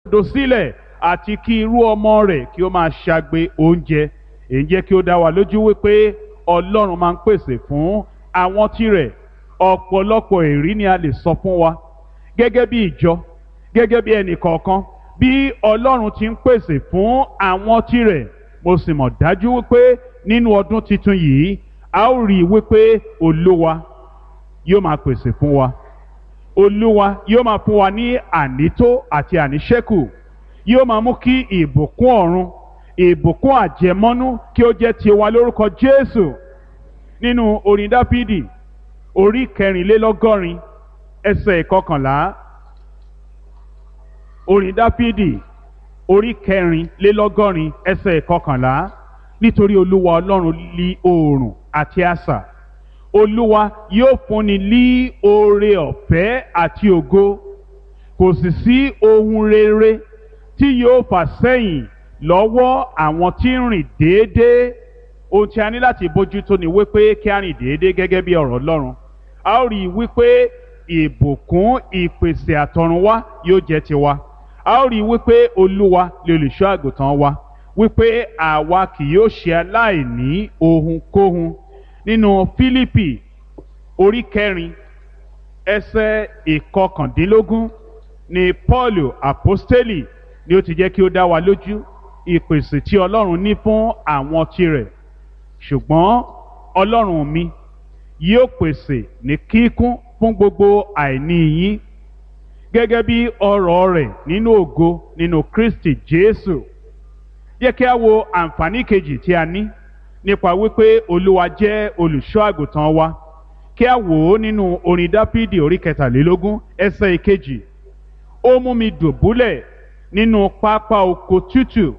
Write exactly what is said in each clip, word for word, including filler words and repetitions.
Olódodo sílẹ̀ àti kí irú ọmọ rẹ̀ kí ó máa ṣagbe oúnjẹ. Èyí jẹ́ kí ó dá wa lójú wípé Ọlọ́run máa ń pèsè fún àwọn tirẹ̀. Ọ̀pọ̀lọpọ̀ èrí ni a lè sọ fún wa gẹ́gẹ́ bí ìjọ, gẹ́gẹ́ bí ẹnì kọ̀ọ̀kan, bí Ọlọ́run ti ń pèsè fún àwọn tirẹ̀. Mo sì mọ̀ dájú wípé nínú ọdún tuntun yìí, a ó rí i wípé Olúwa yóò máa pèsè fún wa. Olúwa yóò máa fún wa ní ànító àti àníṣẹ́kù. Yóò máa mú kí ìbùkún ọ̀run, ìbùkún àjẹmọ́nú kí ó jẹ́ tiwa lórúkọ Jésù. Nínú orin Dáfídì orí kẹrìnlélọ́gọ́rin ẹsẹ̀ ìkọkànlá. Orin Dáfídì orí kẹrìnlélọ́gọ́rin ẹsẹ̀ ìkọkànlá. Nítorí Olúwa Ọlọ́run lí oòrùn àti asà, Olúwa yóò fúnni lí oore ọ̀fẹ́ àti ògo. Kò sì sí ohun rere tí yóò fà sẹ́yìn lọ́wọ́ àwọn tí ń rìn déédéé. Ohun tí a ní láti bójútó ni wípé kí a rìn déédéé gẹ́gẹ́ bí ọ̀rọ̀ Ọlọ́run. A ó rí i wípé ìbùkún ìpèsè àtọ̀runwá yóò jẹ́ tiwa. A ó rí i wípé Olúwa lè olùṣọ́ àgùntàn wa, wípé àwa kì yóò ṣe aláìní ohunkóhun. Nínú Fílípì orí kẹrin ẹsẹ̀ ìkọkàndínlógún ni Pọ́ọ̀lù àpọ́stélì ni ó ti jẹ́ kí ó dá wa lójú ìpèsè tí Ọlọ́run ní fún àwọn tirẹ̀. Ṣùgbọ́n Ọlọ́run mi yóò pèsè ní kíkún fún gbogbo àìní yín gẹ́gẹ́ bí ọrọ̀ rẹ̀ nínú ògo nínú Kristi Jésù. Yẹ kí a wo àǹfààní kejì tí a ní nípa wípé Olúwa jẹ́ olùṣọ́ àgùntàn wa. Kí a wò ó nínú orin Dáfídì orí kẹtàlélógún ẹsẹ̀ ìkejì. Ó mú mi dùbúlẹ̀ nínú pápá oko tútù.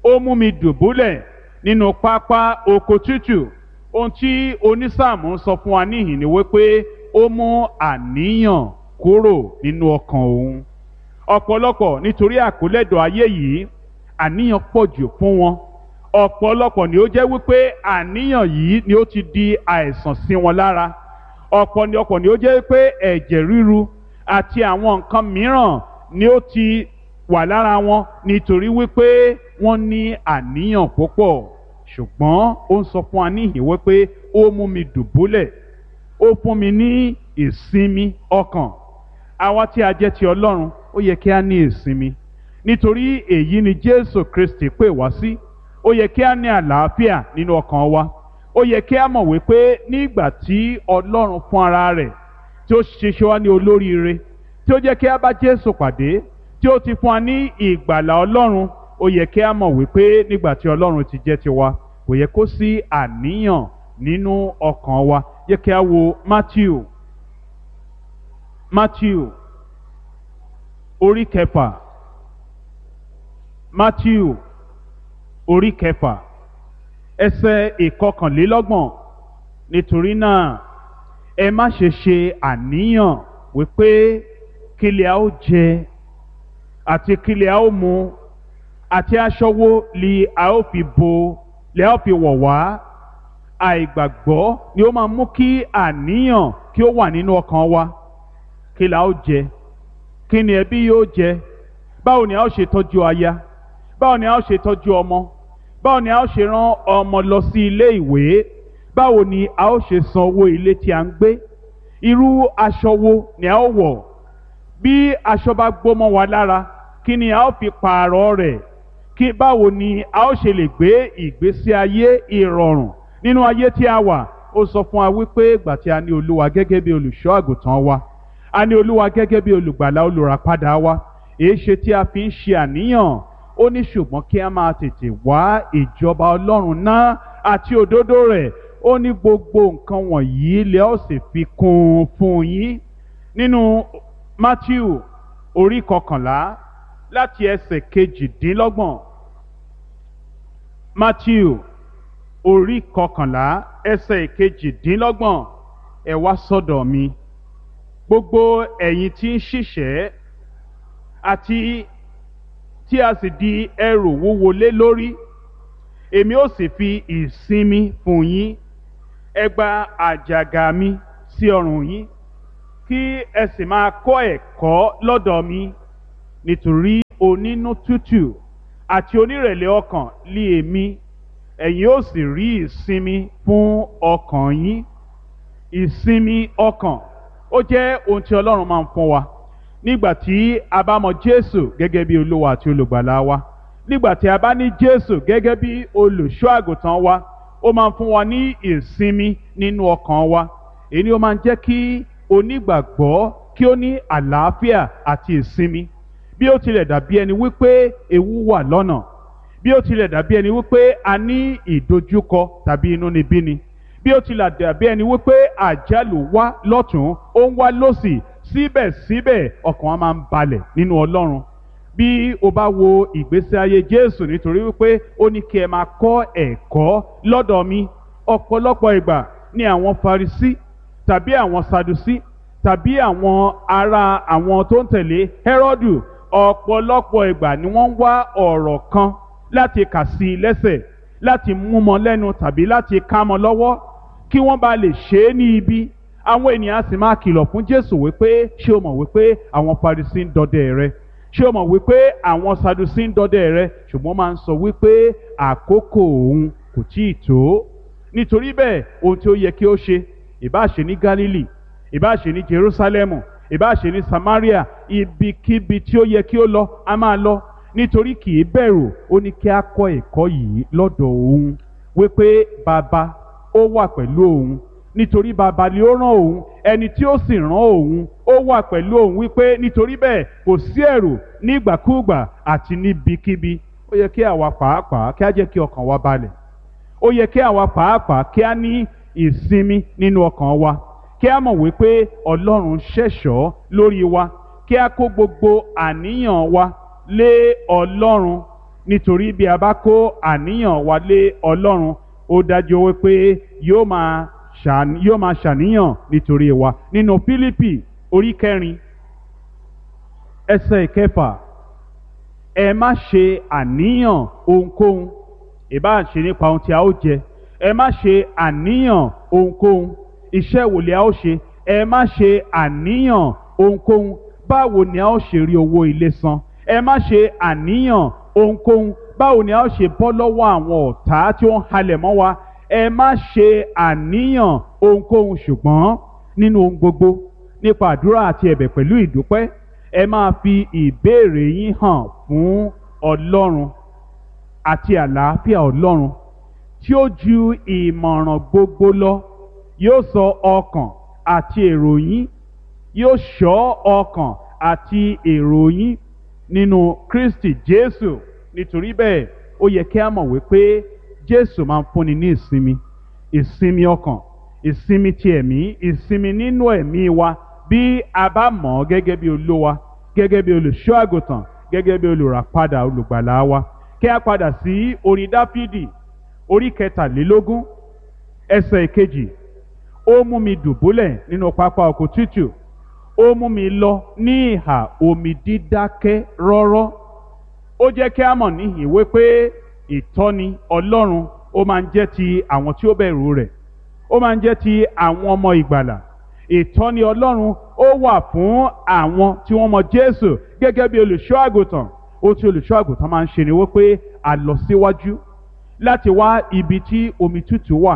Ó mú mi dùbúlẹ̀ nínú pápá oko tútù. Ohun tí onísáàmù ń sọ fún wa níhìn ni wípé ó mú àníyàn kúrò nínú ọkàn òun. Ọ̀pọ̀lọpọ̀ nítorí àkólẹ́dọ̀ ayé yìí, àníyàn pọ̀ jù fún wọn. Ọ̀pọ̀lọpọ̀ ni ó jẹ́ wípé àníyàn yìí ni ó ti di àìsàn sí wọn lára. Ọ̀pọ̀lọpọ̀ ni ó jẹ́ wípé ẹ̀jẹ̀ ríru àti àwọn nǹkan mìíràn ni ó ti wà lára wọn nítorí wípé wọ́n ní àníyàn púpọ̀. Ṣùgbọ́n ó ń sọ fún wa níhìn wípé ó mú mi dùbúlẹ̀, ó fún mi ní ìsinmi ọkàn. Àwa tí a jẹ́ ti Ọlọ́run, ó yẹ kí a ní ìsinmi. Nítorí èyí ni Jésù Kristi pè wá sí. Ó yẹ kí a ní àlàáfíà nínú ọkàn wa. Ó yẹ kí a mọ̀ wípé nígbà tí Ọlọ́run fún ara rẹ̀, tí ó ṣiṣẹ́ wa ní olóríire, tí ó jẹ́ kí a bá Jésù pàdé, tí ó ti fún wa ní ìgbàlà Ọlọ́run, ó yẹ kí a mọ̀ wípé nígbà tí Ọlọ́run ti jẹ́ tiwa, kò yẹ kó sí àníyàn nínú ọkàn wa. Yẹ kí a wo Matthew. Matthew orí kẹfà. Matthew orí kẹfà ẹsẹ̀ ìkọkànlélọ́gbọ̀n. Nítorí náà ẹ má ṣe ṣe àníyàn wípé kí lè a ó jẹ àti kí lè a ó mu àti aṣọ wo li a ó fi bo lè a ó fi wọ̀ wá. Àìgbàgbọ́ ni ó máa mú kí àníyàn kí ó wà nínú ọkàn wa. Kí la ó jẹ? Kí ni ẹbí yóò jẹ? Báwo ni a ó ṣe tọ́jú aya? Báwo ni a ó ṣe tọ́jú ọmọ? Báwo ni a ó ṣe rán ọmọ lọ sí ilé ìwé? Báwo ni a ó ṣe san owó ilé tí a ń gbé? Irú aṣọ wo ni a ó wọ̀? Bí aṣọ bá gbó mọ́ wa lára, kí ni a ó fi pààrọ̀ rẹ̀? Kí báwo ni a ó ṣe lè gbé ìgbésí ayé ìrọ̀rùn nínú ayé tí a wà? Ó sọ fún wa wípé ìgbà tí a ní Olúwa gẹ́gẹ́ bí olùṣọ́ àgùntàn wa, a ní Olúwa gẹ́gẹ́ bí olùgbàlà olùràpadà wa, èéṣe tí a fi ń ṣe àníyàn? Ó ní ṣùgbọ́n kí a máa tètè wá ìjọba Ọlọ́run náà àti òdodo rẹ̀. Ó ní gbogbo nǹkan wọ̀nyí lẹ ó sì fi kún un fún yín. Nínú Matthew orí kọkànlá láti ẹsẹ̀ kejìdínlọ́gbọ̀n. Matthew orí kọkànlá ẹsẹ̀ kejìdínlọ́gbọ̀n. Ẹ wá sọ́dọ̀ mi, gbogbo ẹ̀yin tí ń ṣiṣẹ́ àti tí a sì di ẹrù wúwo lé lórí, èmi ó sì fi ìsinmi fún yín. Ẹ gba àjàgà mi sí ọrùn yín, kí ẹ sì máa kọ́ ẹ̀kọ́ lọ́dọ̀ mi, nítorí onínú tútù àti onírẹ̀lẹ̀ ọkàn lé èmi, ẹ̀yin ó sì rí ìsinmi fún ọkàn yín. Ìsinmi ọkàn ó jẹ́ ohun tí Ọlọ́run máa ń fún wa nígbà tí a bá mọ Jésù gẹ́gẹ́ bí Olúwa àti Olùgbàlà wa, nígbà tí a bá ní Jésù gẹ́gẹ́ bí olùṣọ́ àgùntàn wa. Ó máa ń fún wa ní ìsinmi nínú ọkàn wa. Èyí ni ó máa ń jẹ́ kí onígbàgbọ́ kí ó ní àlàáfíà àti ìsinmi. Bí ó tilẹ̀ dàbí ẹni wípé ewu wà lọ́nà, bí ó tilẹ̀ dàbí ẹni wípé a ní ìdojúkọ tàbí inúnibíni, bí ó tilẹ̀ dàbí ẹni wípé àjálù wá lọ́tún ó ń wá lọ́sì, síbẹ̀síbẹ̀ ọkàn wa máa ń balẹ̀ nínú Ọlọ́run. Bí o bá wo ìgbésí ayé Jésù, nítorí wípé ó ní kí ẹ máa kọ́ ẹ̀kọ́ lọ́dọ̀ mi. Ọ̀pọ̀lọpọ̀ ìgbà ni àwọn Farisí tàbí àwọn Sadusí tàbí àwọn ará àwọn tó ń tẹ̀lé Hẹ́rọ́dù, ọ̀pọ̀lọpọ̀ ìgbà ni wọ́n ń wá ọ̀rọ̀ kan láti kà sí i lẹ́sẹ̀, láti mú mọ́ lẹ́nu tàbí láti ká mọ́ lọ́wọ́ kí wọ́n bá lè ṣe é ní ibi. Àwọn ènìyàn á sì máa kìlọ̀ fún Jésù wípé, ṣé o mọ̀ wípé àwọn Farisí ń dọdẹ rẹ? Ṣé o mọ̀ wípé àwọn Sadusí ń dọdẹ rẹ? Ṣùgbọ́n máa ń sọ wípé àkókò òun kò tíì tó. Nítorí bẹ́ẹ̀, ohun tí ó yẹ kí ó ṣe, ìbá ṣe ní Gálílì, ìbá ṣe ní Jerúsálẹ́mù, ìbá ṣe ní Samaria, ibikíbi tí ó yẹ kí ó lọ, a máa lọ, nítorí kì í bẹ̀rù. Ó ní kí a kọ́ ẹ̀kọ́ yìí lọ́dọ̀ òun wípé bàbá ó wà pẹ̀lú òun, nítorí bàbá ni ó rán òun, ẹni tí ó sì rán òun ó wà pẹ̀lú òun, wípé nítorí bẹ́ẹ̀ kò sí ẹ̀rù nígbàkúùgbà àti níbikíbi. Ó yẹ kí àwa pàápàá kí a jẹ́ kí ọkàn wa balẹ̀. Ó yẹ kí àwa pàápàá kí a ní ìsinmi nínú ọkàn wa, kí a mọ̀ wípé Ọlọ́run ṣẹ̀ṣọ́ lórí wa, kí a kó gbogbo àníyàn wa lé Ọlọ́run, nítorí bí a bá kó àníyàn wa lé Ọlọ́run, ó dájú wípé yóò máa ṣàn yóò máa ṣàníyàn nítorí wa. Nínú Fílípì orí kẹrin ẹsẹ̀ ìkẹfà, ẹ má ṣe àníyàn ohunkóhun, ìbá ṣe nípa ohun tí a ó jẹ, ẹ má ṣe àníyàn ohunkóhun, iṣẹ́ wo ni a ó ṣe, ẹ má ṣe àníyàn ohunkóhun, báwo ni a ó ṣe rí owó ilé san, ẹ má ṣe àníyàn ohunkóhun, báwo ni a ó ṣe bọ́ lọ́wọ́ àwọn ọ̀tá tí ó ń halẹ̀ mọ́ wa, ẹ má ṣe àníyàn ohunkóhun, ṣùgbọ́n nínú ohun gbogbo nípa àdúrà àti ẹ̀bẹ̀ pẹ̀lú ìdúpẹ́, ẹ máa fi ìbéèrè yín hàn fún Ọlọ́run, àti àlàáfíà Ọlọ́run tí ó ju ìmọ̀ràn gbogbo lọ yóò sọ ọkàn àti èrò yín, yóò ṣọ́ ọkàn àti èrò yín nínú Kristi Jésù. Nítorí bẹ́ẹ̀, ó yẹ kí a mọ̀ wípé Jésù máa ń fúnni ní ìsinmi, ìsinmi ọkàn, ìsinmi ti ẹ̀mí, ìsinmi nínú ẹ̀mí wa, bí a bá mọ̀ ọ́ gẹ́gẹ́ bí Olúwa, gẹ́gẹ́ bí olùṣọ́ àgùntàn, gẹ́gẹ́ bí olùràpadà olùgbàlà wa. Kí a padà sí orin Dáfídì orí kẹtàlélógún ẹsẹ̀ ìkejì. Ó mú mi dùbúlẹ̀ nínú pápá oko tútù, ó mú mi lọ ní ìhà omi dídákẹ́ rọ́rọ́. Ó jẹ́ kí a mọ̀ níhìn wípé ìtọ́ni Ọlọ́run ó máa ń jẹ́ ti àwọn tí ó bẹ̀rù rẹ̀, ó máa ń jẹ́ ti àwọn ọmọ ìgbàlà. Ìtọ́ni Ọlọ́run ó wà fún àwọn tí wọ́n mọ Jésù gẹ́gẹ́ bí olùṣọ́ àgùntàn. Ohun tí olùṣọ́ àgùntàn máa ń ṣe ni wípé a lọ síwájú láti wá ibi tí omi tútù wà,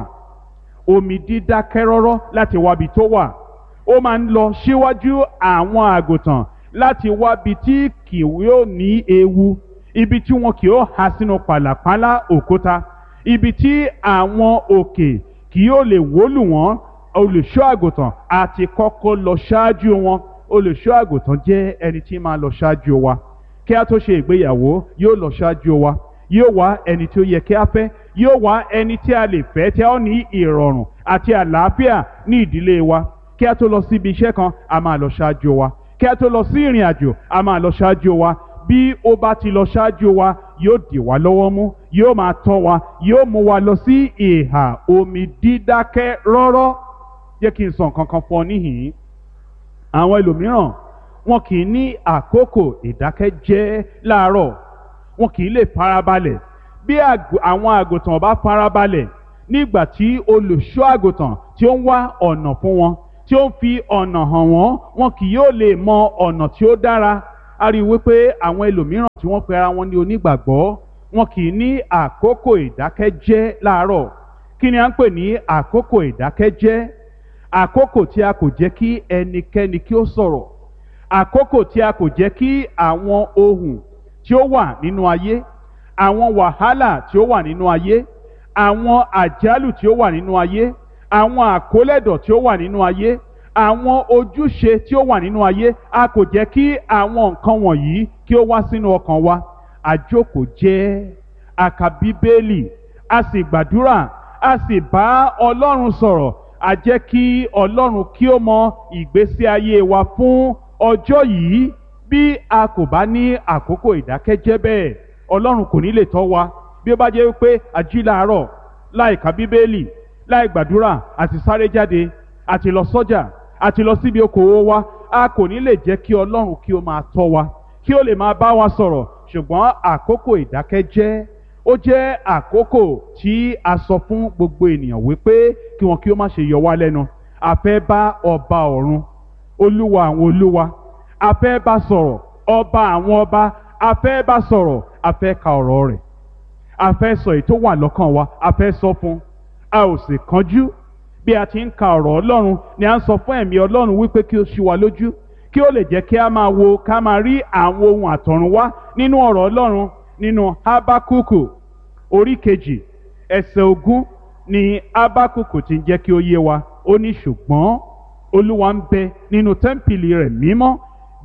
omi dídákẹ́ rọ́rọ́ láti wá ibi tó wà. Ó máa ń lọ síwájú àwọn àgùntàn láti wá ibi tí kì yóò ní ewu, ibi tí wọn kì yóò há sínú pàlàpálá òkúta, ibi tí àwọn òkè kì yóò lè wólù wọ́n. Olùṣọ́ àgùntàn àti kọ́kọ́ lọ ṣáájú wọn. Olùṣọ́ àgùntàn jẹ́ ẹni tí máa lọ ṣáájú wa. Kí a tó ṣe ìgbéyàwó, yóò lọ ṣáájú wa, yóò wá ẹni tí ó yẹ kí a fẹ́, yóò wá ẹni tí a lè fẹ́ tí a ó ní ìrọ̀rùn àti àlàáfíà ní ìdílé wa. Kí a tó lọ síbi iṣẹ́ kan, a máa lọ ṣáájú wa. Kí a tó lọ sí ìrìn àjò, a máa lọ ṣáájú wa. Bí ó bá ti lọ ṣáájú wa, yóò dì wá lọ́wọ́ mú, yóò máa tọ́ wa, yóò mú wa lọ sí ìhà omi dídákẹ́ rọ́rọ́. Jẹ́ kí n sọ nǹkan kan fún ọ níhìn-ín. Àwọn ẹlòmíràn wọn kì í ní àkókò ìdákẹ́jẹ́ láàárọ̀, wọn kì í lè farabalẹ̀. Bí àwọn àgùntàn bá farabalẹ̀ nígbà tí olùṣọ́ àgùntàn tí ó ń wá ọ̀nà fún wọn, tí ó ń fi ọ̀nà hàn wọ́n, wọn kì yóò lè mọ ọ̀nà tí ó dára. A rí i wípé àwọn ẹlòmíràn tí wọ́n pe ara wọn ní onígbàgbọ́, wọn kì í ní àkókò ìdákẹ́jẹ́ láàárọ̀. Kí ni à ń pè ní àkókò ìdákẹ́jẹ́? Àkókò tí a kò jẹ́ kí ẹnikẹ́ni kí ó sọ̀rọ̀, àkókò tí a kò jẹ́ kí àwọn ohùn tí ó wà nínú ayé, àwọn wàhálà tí ó wà nínú ayé, àwọn àjálù tí ó wà nínú ayé, àwọn àkólẹ̀dọ̀ tí ó wà nínú ayé, àwọn ojúṣe tí ó wà nínú ayé, a kò jẹ́ kí àwọn nǹkan wọ̀nyí kí ó wá sínú ọkàn wa. Àjókòó jẹ́, a kà Bíbélì, a sì gbàdúrà, a sì bá Ọlọ́run sọ̀rọ̀. A jẹ́ kí Ọlọ́run kí ó mọ ìgbésí ayé wa fún ọjọ́ yìí. Bí a kò bá ní àkókò ìdákẹ́jẹ́ bẹ́ẹ̀, Ọlọ́run kò ní lè tọ́ wa. Bí ó bá jẹ́ wípé a jí láàárọ̀ láì ka Bíbélì, láì gbàdúrà, àti sáré jáde, àti lọ sọ́jà, àti lọ síbi okòwò wa, a kò ní lè jẹ́ kí Ọlọ́run kí ó máa tọ́ wa, kí ó lè máa bá wa sọ̀rọ̀. Ṣùgbọ́n àkókò ìdákẹ́jẹ́ ó jẹ́ àkókò tí a sọ fún gbogbo ènìyàn wípé kí wọn kí ó má ṣe yọ wá lẹ́nu. A fẹ́ bá ọba ọ̀run, olúwa àwọn olúwa, a fẹ́ bá sọ̀rọ̀, ọba àwọn ọba, a fẹ́ bá sọ̀rọ̀, a fẹ́ ka ọ̀rọ̀ rẹ̀, a fẹ́ sọ èyí tó wà lọ́kàn wa, a fẹ́ sọ fún. A ò sì kánjú. Bí a ti ń ka ọ̀rọ̀ Ọlọ́run ni a ń sọ fún ẹ̀mí Ọlọ́run wípé kí ó ṣí wa lójú, kí ó lè jẹ́ kí a máa wo, ká máa rí àwọn ohun àtọ̀run wá nínú ọ̀rọ̀ Ọlọ́run. Nínú Hábákúkù orí kejì ẹsẹ̀ ogún ni Hábákúkù ti ń jẹ́ kí ó yé wa. Ó ní, ṣùgbọ́n Olúwa ń bẹ nínú tẹ́ḿpìlì rẹ̀ mímọ́,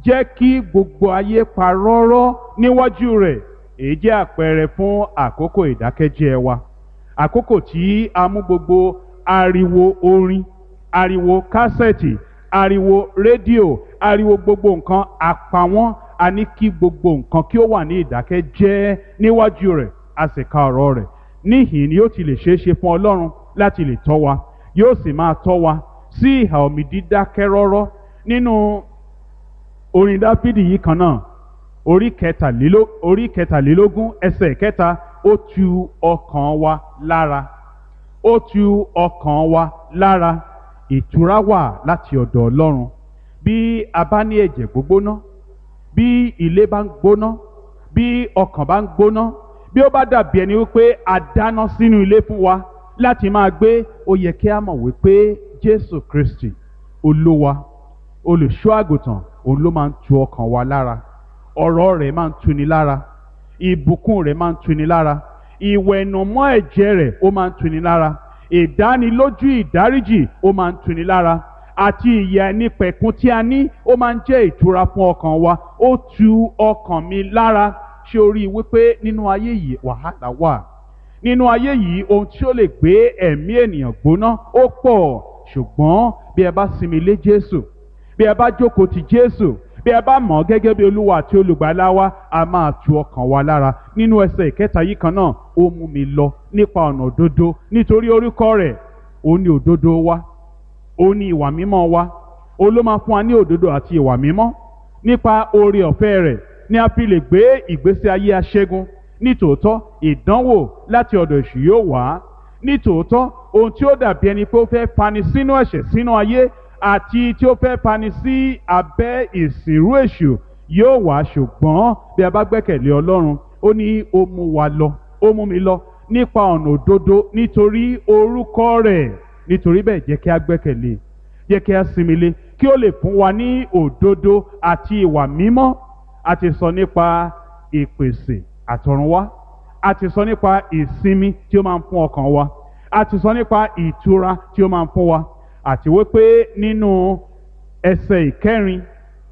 jẹ́ kí gbogbo ayé pa rọ́rọ́ níwájú rẹ̀. Èyí jẹ́ àpẹẹrẹ fún àkókò ìdákẹ́jẹ́ wa, àkókò tí a mú gbogbo ariwo orin, ariwo kásẹ̀tì, ariwo rédíò, ariwo gbogbo nǹkan, a pa wọ́n. A ní kí gbogbo nǹkan kí ó wà ní ìdákẹ́jẹ́ níwájú rẹ̀, a sì ka ọ̀rọ̀ rẹ̀. Níhìn ni yóò ti lè ṣeé ṣe fún Ọlọ́run láti lè tọ́ wa, yóò sì máa tọ́ wa sí ìhà omi dídákẹ́ rọ́rọ́. Nínú orin Dáfídì yìí kan náà, orí kẹtàléló- orí kẹtàlélógún ẹsẹ̀ kẹta, ó tu ọkàn wa lára, ó tu ọkàn wa lára. Ìtura wà láti ọ̀dọ̀ Ọlọ́run. Bí a bá ní ẹ̀jẹ̀ gbógbóná, bí ilé bá ń gbóná, bí ọkàn bá ń gbóná, bí ó bá dàbí ẹni wípé a dáná sínú ilé fún wa láti máa gbé, ó yẹ kí a mọ̀ wípé Jésù Kristi Olúwa, olùṣọ́ àgùntàn, òun ló máa ń tu ọkàn wa lára. Ọ̀rọ̀ rẹ̀ máa ń tuni lára, ìbùkún rẹ̀ máa ń tuni lára, ìwẹ̀nùmọ́ ẹ̀jẹ̀ rẹ̀ ó máa ń tuni lára, ìdánilójú ìdáríjì ó máa ń tuni lára, àti ìyè àìnípẹ̀kun tí a ní ó máa ń jẹ́ ìtura fún ọkàn wa. Ó tu ọkàn mi lára. Ṣé o rí i wípé nínú ayé yìí wàhálà wà? Nínú ayé yìí ohun tí ó lè gbé ẹ̀mí ènìyàn gbóná ó pọ̀. Ṣùgbọ́n bí ẹ bá sinmi lé Jésù, bí ẹ bá jókòó ti Jésù, bí ẹ bá mọ̀ ọ́ gẹ́gẹ́ bí Olúwa àti Olùgbàlà wa, a máa tu ọkàn wa lára. Nínú ẹsẹ̀ ìkẹta yìí kan náà, ó mú mi lọ nípa ọ̀nà òdodo nítorí orúkọ rẹ̀. Ó ní òdodo wa, ó ní ìwà mímọ́ wa, ó ló máa fún wa ní òdodo àti ìwà mímọ́. Nípa oore ọ̀fẹ́ rẹ̀ ni a fi lè gbé ìgbésí ayé aṣẹ́gun. Nítòótọ́ ìdánwò láti ọ̀dọ̀ èṣù yóò wá. Nítòótọ́ ohun tí ó dàbí ẹni pé ó fẹ́ fani sínú ẹ̀ṣẹ̀, sínú ayé, àti tí ó fẹ́ fani sí abẹ́ ìsìnrú èṣù yóò wá. Ṣùgbọ́n bí a bá gbẹ́kẹ̀lé Ọlọ́run, ó ní ó mú wa lọ, ó mú mi lọ nípa ọ̀nà òdodo nítorí orúkọ rẹ̀. Nítorí bẹ́ẹ̀ jẹ́ kí a gbẹ́kẹ̀lé, jẹ́ kí a sinmi lé, kí ó lè fún wa ní òdodo àti ìwà mímọ́. A ti sọ nípa ìpèsè àtọ̀runwá, a ti sọ nípa ìsinmi tí ó máa ń fún ọkàn wa, a ti sọ nípa ìtura tí ó máa ń fún wa, àti wípé nínú ẹsẹ̀ ìkẹrin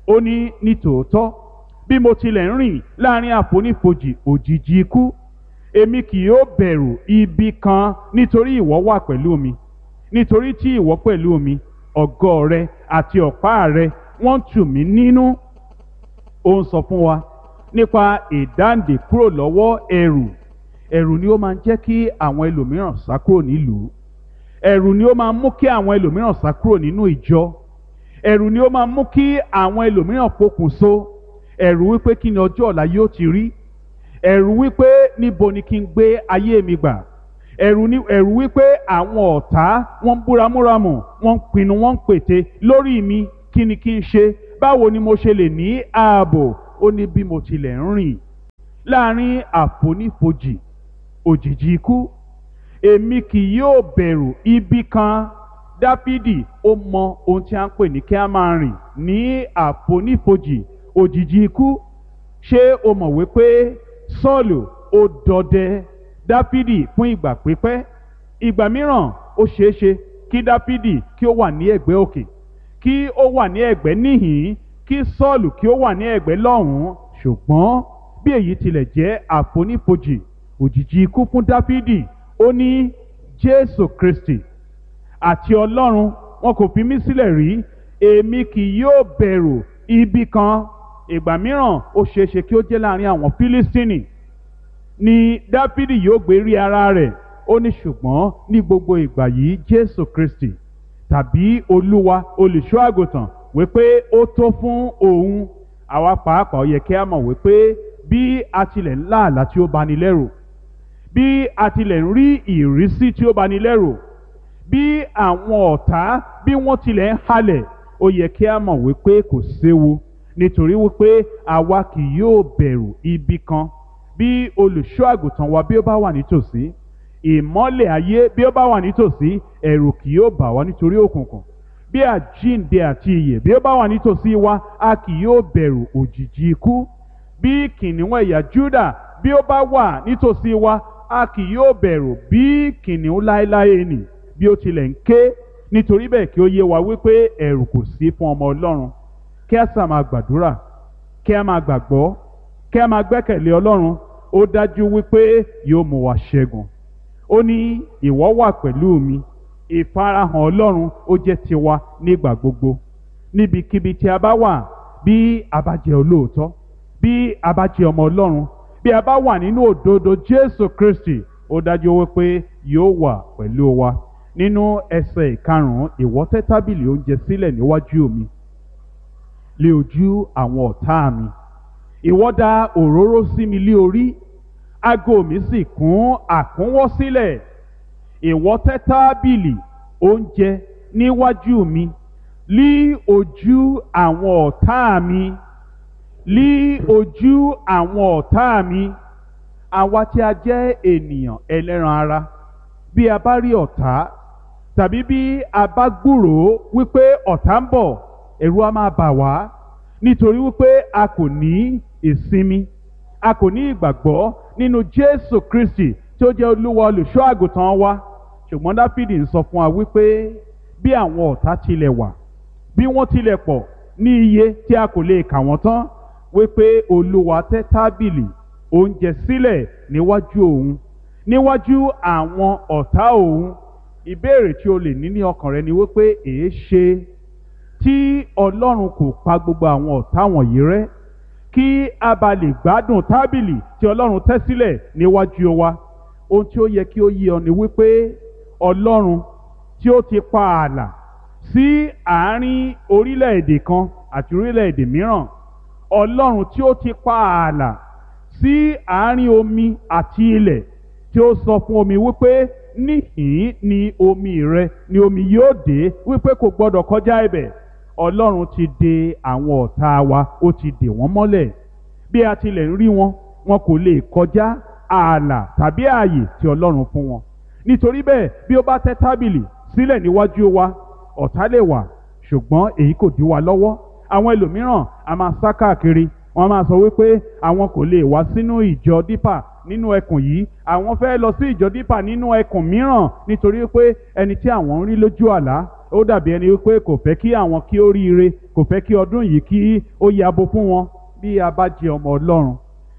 ó ní, nítòótọ́ bí mo tilẹ̀ ń rìn láàrin àfonífojì òjìji ikú, èmi kì yóò bẹ̀rù ibi kan, nítorí ìwọ wà pẹ̀lú mi, nítorí tí ìwọ pẹ̀lú mi, ọ̀gọ́ rẹ àti ọ̀pá rẹ wọ́n tù mí nínú. Ó ń sọ fún wa nípa ìdáǹdè kúrò lọ́wọ́ ẹ̀rù. Ẹ̀rù ni ó máa ń jẹ́ kí àwọn ẹlòmíràn sá kúrò nílùú. Ẹ̀rù ni ó máa ń mú kí àwọn ẹlòmíràn sá kúrò nínú ìjọ. Ẹ̀rù ni ó máa ń mú kí àwọn ẹlòmíràn pokùnso. Ẹ̀rù wípé kí ni ọjọ́ ọ̀la yóò ti rí. Ẹ̀rù wípé níbo ni kí n gbé ayé mi gbà. Ẹ̀rù ni ẹ̀rù wípé àwọn ọ̀tá wọ́n ń búramúramù, wọ́n ń pinnu, wọ́n ń pète lórí mi, kí ni kí n ṣe? Báwo ni mo ṣe lè ní ààbò? Ó ní bí mo tilẹ̀ ń rìn láàrin àfonífojì òjìji ikú, èmi kì yóò bẹ̀rù ibi kan. Dáfídì ó mọ ohun tí a ń pè ní kí a máa rìn ní àfonífojì òjìji ikú. Ṣé o mọ̀ wípé Sọ́ọ̀lù ó dọdẹ Dáfídì fún ìgbà pípẹ́? Ìgbà mìíràn ó ṣeéṣe kí Dáfídì kí ó wà ní ẹ̀gbẹ́ òkè, kí ó wà ní ẹ̀gbẹ́ níhìn-ín, kí Sọ́ọ̀lù kí ó wà ní ẹ̀gbẹ́ lọ́hùn-ún. Ṣùgbọ́n bí èyí tilẹ̀ jẹ́ àfonífojì òjìji ikú fún Dáfídì, ó ní Jésù Kristi àti Ọlọ́run wọn kò fi mí sílẹ̀ rí, èmi kì yóò bẹ̀rù ibi kan. Ìgbà mìíràn ó ṣeéṣe kí ó jẹ́ láàrin àwọn Fílístínì ni Dáfídì yóò gbé rí ara rẹ̀. Ó ní ṣùgbọ́n ní gbogbo ìgbà yìí Jésù Kristi tàbí Olúwa olùṣọ́ àgùntàn wípé ó tó fún òun. Àwa pàápàá ó yẹ kí a mọ̀ wípé bí a tilẹ̀ ń lá àlá tí ó bani lẹ́rù, bí a tilẹ̀ ń rí ìrísí tí ó bani lẹ́rù, bí àwọn ọ̀tá bí wọ́n tilẹ̀ ń halẹ̀, ó yẹ kí a mọ̀ wípé kò séwu, nítorí wípé àwa kì yóò bẹ̀rù ibi kan. Bí olùṣọ́ àgùntàn wa bí ó bá wà nítòsí, ìmọ́lẹ̀ ayé bí ó bá wà nítòsí, ẹ̀rù kì yóò bà wá nítorí òkùnkùn. Bí àjíǹde àti ìyè bí ó bá wà nítòsí wa, a kì yóò bẹ̀rù òjìji ikú. Bí kìnìún ẹ̀yà Júdà bí ó bá wà nítòsí wa, a kì yóò bẹ̀rù bí kìnìún láéláé nì bí ó tilẹ̀ ń ké. Nítorí bẹ́ẹ̀ kí ó yé wa wípé ẹ̀rù kò sí fún ọmọ Ọlọ́run. Kí a sà máa gbàdúrà, kí a máa gbàgbọ́, kí a máa gbẹ́kẹ̀lé Ọlọ́run. Ó dájú wípé yóò mú wa ṣẹ́gun. Ó ní ìwọ wà pẹ̀lú mi. Ìfarahàn Ọlọ́run ó jẹ́ tiwa nígbà gbogbo, níbikíbi tí a bá wà. Bí a bá jẹ́ olóòótọ́, bí a bá jẹ́ ọmọ Ọlọ́run, bí a bá wà nínú òdodo Jésù Kristi, ó dájú wípé yóò wà pẹ̀lú wa. Nínú ẹsẹ̀ ìkarùn-ún, ìwọ tẹ́ tábìlì oúnjẹ sílẹ̀ níwájú mi lé ojú àwọn ọ̀tá mi. Ìwọ dà òróró sí mi lé orí, ago mi sì kún àkúnwọ́ sílẹ̀. Ìwọ tẹ́ tábìlì oúnjẹ níwájú mi lí ojú àwọn ọ̀tá mi, lí ojú àwọn ọ̀tá mi. Àwa tí a jẹ́ ènìyàn ẹlẹ́ran ara, bí a bá rí ọ̀tá tàbí bí a bá gbúròó wípé ọ̀tá ń bọ̀, ẹ̀rù á máa bà wá, nítorí wípé a kò ní ìsinmi, a kò ní ìgbàgbọ́ nínú Jésù Kristi tí ó jẹ́ Olúwa olùṣọ́ àgùntàn wa. Ṣùgbọ́n Dáfídì ń sọ fún wa wípé bí àwọn ọ̀tá tilẹ̀ wà, bí wọ́n tilẹ̀ pọ̀ ní iye tí a kò lè kà wọ́n tán, wípé Olúwa tẹ́ tábìlì oúnjẹ sílẹ̀ níwájú òun, níwájú àwọn ọ̀tá òun. Ìbéèrè tí o lè ní ní ọkàn rẹ ni wípé èé ṣe tí Ọlọ́run kò pa gbogbo àwọn ọ̀tá wọ̀nyí rẹ́, kí a bá lè gbádùn tábìlì tí Ọlọ́run tẹ́ sílẹ̀ níwájú wa. Ohun tí ó yẹ kí ó yé ọ ni wípé Ọlọ́run tí ó ti pa ààlà sí àárín orílẹ̀-èdè kan àti orílẹ̀-èdè mìíràn, Ọlọ́run tí ó ti pa ààlà sí àárín omi àti ilẹ̀, tí ó sọ fún omi wípé níhìn ni omi rẹ ni omi yóò dé, wípé kò gbọdọ̀ kọjá ibẹ̀. Ọlọ́run ti de àwọn ọ̀tá wa, ó ti dè wọ́n mọ́lẹ̀. Bí a tilẹ̀ ń rí wọn, wọn kò lè kọjá ààlà tàbí ààyè tí Ọlọ́run fún wọn. Nítorí bẹ́ẹ̀, bí ó bá tẹ́ tábìlì sílẹ̀ níwájú wa, ọ̀tá lè wà, ṣùgbọ́n èyí kò dí wa lọ́wọ́. Àwọn ẹlòmíràn a máa sá káàkiri, wọ́n máa sọ wípé àwọn kò lè wá sínú ìjọ Dípà nínú ẹkùn yìí, àwọn fẹ́ lọ sí ìjọ Dípà nínú ẹkùn mìíràn, nítorí pé ẹni tí àwọn ń rí lójú àlá ó dàbí ẹni wípé kò fẹ́ kí àwọn kí ó ríire, kò fẹ́ kí ọdún yìí kí ó yabo fún wọn. Bí a bá jẹ ọmọ Ọlọ́run,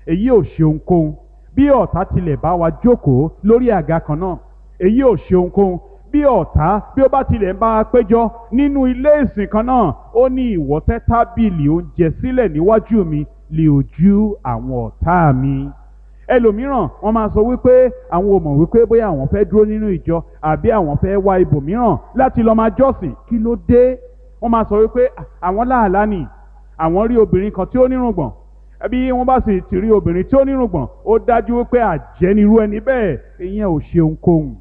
èyí ò ṣe ohunkóhun. Bí ọ̀tá tilẹ̀ bá wa jókòó lórí àga kan náà, èyí ò ṣe ohunkóhun. Bí ọ̀tá bí ó bá tilẹ̀ ń bá a péjọ nínú ilé ìsìn kan náà, ó ní ìwọ tẹ́ tábìlì oúnjẹ sílẹ̀ níwájú mi lé ojú àwọn ọ̀tá mi. Ẹlòmíràn wọ́n máa sọ wípé àwọn ò mọ̀ wípé bóyá àwọn fẹ́ dúró nínú ìjọ àbí àwọn fẹ́ wá ibòmíràn láti lọ máa jọ́sìn. Kí ló dé? Wọ́n máa sọ wípé àwọn láàlá nì, àwọn rí obìnrin kan tí ó nírùngbọ̀n. Bí wọ́n bá sì ti rí obìnrin tí ó nírùngbọ̀n, ó dájú wípé àjẹ́ nirú ẹni bẹ́ẹ̀. Ìyẹn ò ṣe ohunkóhun.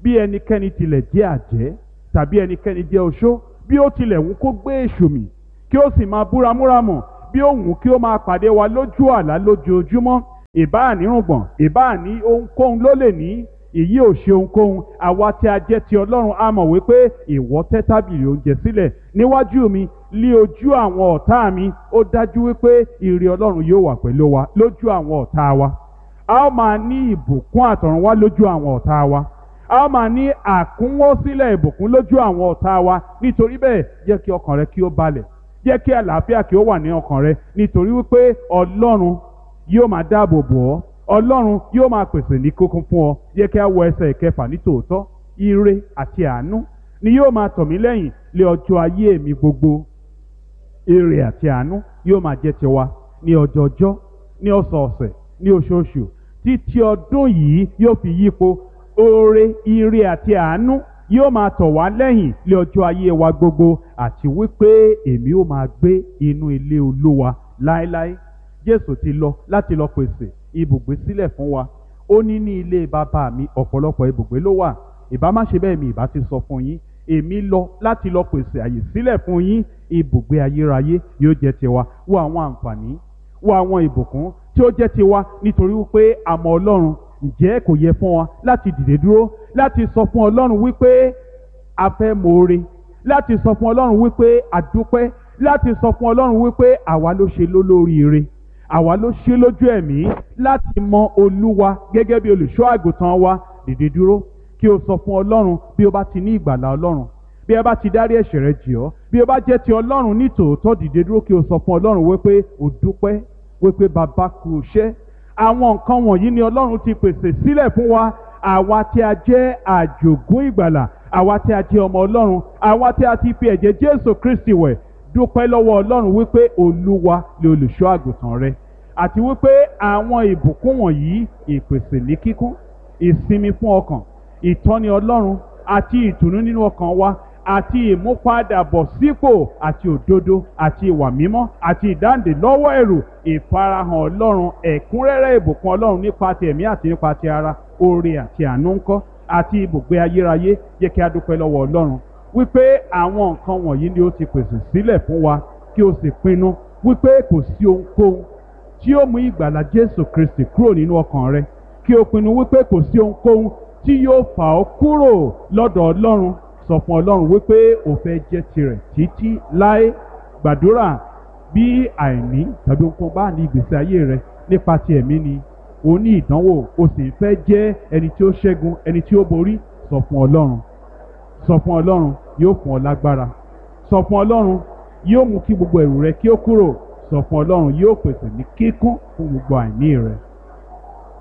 Bí ẹnikẹ́ni tilẹ̀ jẹ́ àjẹ́ tàbí ẹnikẹ́ni jẹ́ oṣó, bí ó tilẹ̀ wù kó gbé èṣù mì kí ó sì máa búramúramù, Bí ó wù kí ó máa pàdé wa lójú àlá lójoojúmọ́, ìbáà ní rùngbọ̀n, ìbáà ní ohunkóhun ló lè ní, èyí ò ṣe ohunkóhun. Àwa tí a jẹ́ ti Ọlọ́run a mọ̀ wípé ìwọ tẹ́ tábìlì oúnjẹ sílẹ̀ níwájú mi lí ojú àwọn ọ̀tá mi. Ó dájú wípé ire Ọlọ́run yóò wà pẹ̀lú wa lójú àwọn ọ̀tá wa. A ó máa ní ìbùkún àtọ̀run wá lójú àwọn ọ̀tá wa. A ó máa ní àkúnwọ́sílẹ̀ ìbùkún lójú àwọn ọ̀tá wa. Nítorí bẹ́ẹ̀, jẹ́ kí ọkàn rẹ kí ó balẹ̀, jẹ́ kí àlàáfíà kí ó wà ní ọkàn rẹ, nítorí wípé Ọlọ́run yóò máa dáàbò bò ọ́, Ọlọ́run yóò máa pèsè ní kókún fún ọ. Jẹ́ kí a wọ ẹsẹ̀ ìkẹfà nítòótọ́. Ire àti àánú ni yóò máa tọ̀ mí lẹ́yìn lé ọjọ́ ayé mi gbogbo. Ire àti àánú yóò máa jẹ́ tiwa ní ọjọọjọ́, ní ọ̀sọ̀ọ̀sẹ̀, ní oṣooṣù, títí ọdún yìí yóò fi yípo. Oore, ire àti àánú yóò máa tọ̀ wá lẹ́yìn lé ọjọ́ ayé wa gbogbo, àti wípé èmi ó máa gbé inú ilé Olúwa láéláé. Jésù ti lọ láti lọ pèsè ibùgbé sílẹ̀ fún wa. Ó ní ní ilé bàbá mi ọ̀pọ̀lọpọ̀ ibùgbé ló wà. Ìbá má ṣe bẹ́ẹ̀ mi ìbá ti sọ fún yín. Èmi lọ láti lọ pèsè àyè sílẹ̀ fún yín. Ibùgbé ayérayé yóò jẹ́ tiwa. Wo àwọn àǹfààní, wo àwọn ìbùkún tí ó jẹ́ tiwa nítorí wípé a mọ Ọlọ́run. Ǹjẹ́ kò yẹ fún wa láti dìde dúró láti sọ fún Ọlọ́run wípé a fẹ́ moore, láti sọ fún Ọlọ́run wípé a dúpẹ́, láti sọ fún Ọlọ́run wípé àwa ló ṣe lólóríire, àwa ló ṣe lójú ẹ̀mí láti mọ Olúwa gẹ́gẹ́ bí olùṣọ́ àgùntàn wa? Dìde dúró kí o sọ fún Ọlọ́run bí o bá ti ní ìgbàlà Ọlọ́run, bí ẹ bá ti dárí ẹ̀ṣẹ̀ rẹ jì ọ́, bí o bá jẹ́ ti Ọlọ́run ní tòótọ́. Dìde dúró kí o sọ fún Ọlọ́run wípé o dúpẹ́, wípé bàbá kú iṣẹ́. Àwọn nǹkan wọ̀nyí ni Ọlọ́run ti pèsè sílẹ̀ fún wa, àwa tí a jẹ́ àjògún ìgbàlà, àwa tí a jẹ́ ọmọ Ọlọ́run, àwa tí a ti fi ẹ̀jẹ̀ Jésù Kristi wẹ̀. Dúpẹ́ lọ́wọ́ Ọlọ́run wípé Olúwa ni olùṣọ́ àgùntàn rẹ, àti wípé àwọn ìbùkún wọ̀nyí, ìpèsè ní kíkún, ìsinmi fún ọkàn, ìtọ́ni Ọlọ́run àti ìtùnú nínú ọkàn wa, àti ìmúpadàbọ̀sípò àti òdodo àti ìwà mímọ́ àti ìdáǹdè lọ́wọ́ ẹ̀rù, ìfarahàn Ọlọ́run, ẹ̀kúnrẹ́rẹ́ ìbùkún Ọlọ́run nípa ti ẹ̀mí àti nípa ti ara, oore àti àánú ńkọ́, àti ibùgbé ayérayé. Jẹ́ kí a dúpẹ́ lọ́wọ́ Ọlọ́run wípé àwọn nǹkan wọ̀nyí ni ó ti pèsè sílẹ̀ fún wa, kí o sì pinnu wípé kò sí ohunkóhun tí ó mú ìgbàlà Jésù Kristi kúrò nínú ọkàn rẹ, kí o pinnu wípé kò sí ohunkóhun tí yóò fà ọ́ kúrò lọ́dọ̀ Ọlọ́run. Sọ fún Ọlọ́run wípé o fẹ́ jẹ́ tirẹ̀ títí láé. Gbàdúrà bí àìní tàbí ohunkóhun bá ní ìgbésí ayé rẹ nípa ti ẹ̀mí ni o ní ìdánwò, o sì ń fẹ́ jẹ́ ẹni tí ó ṣẹ́gun, ẹni tí ó borí. Sọ fún Ọlọ́run, sọ fún Ọlọ́run, yóò fún ọ lágbára. Sọ fún Ọlọ́run, yóò mú kí gbogbo ẹ̀rù rẹ kí ó kúrò. Sọ fún Ọlọ́run, yóò pèsè ní kíkún fún gbogbo àìní rẹ.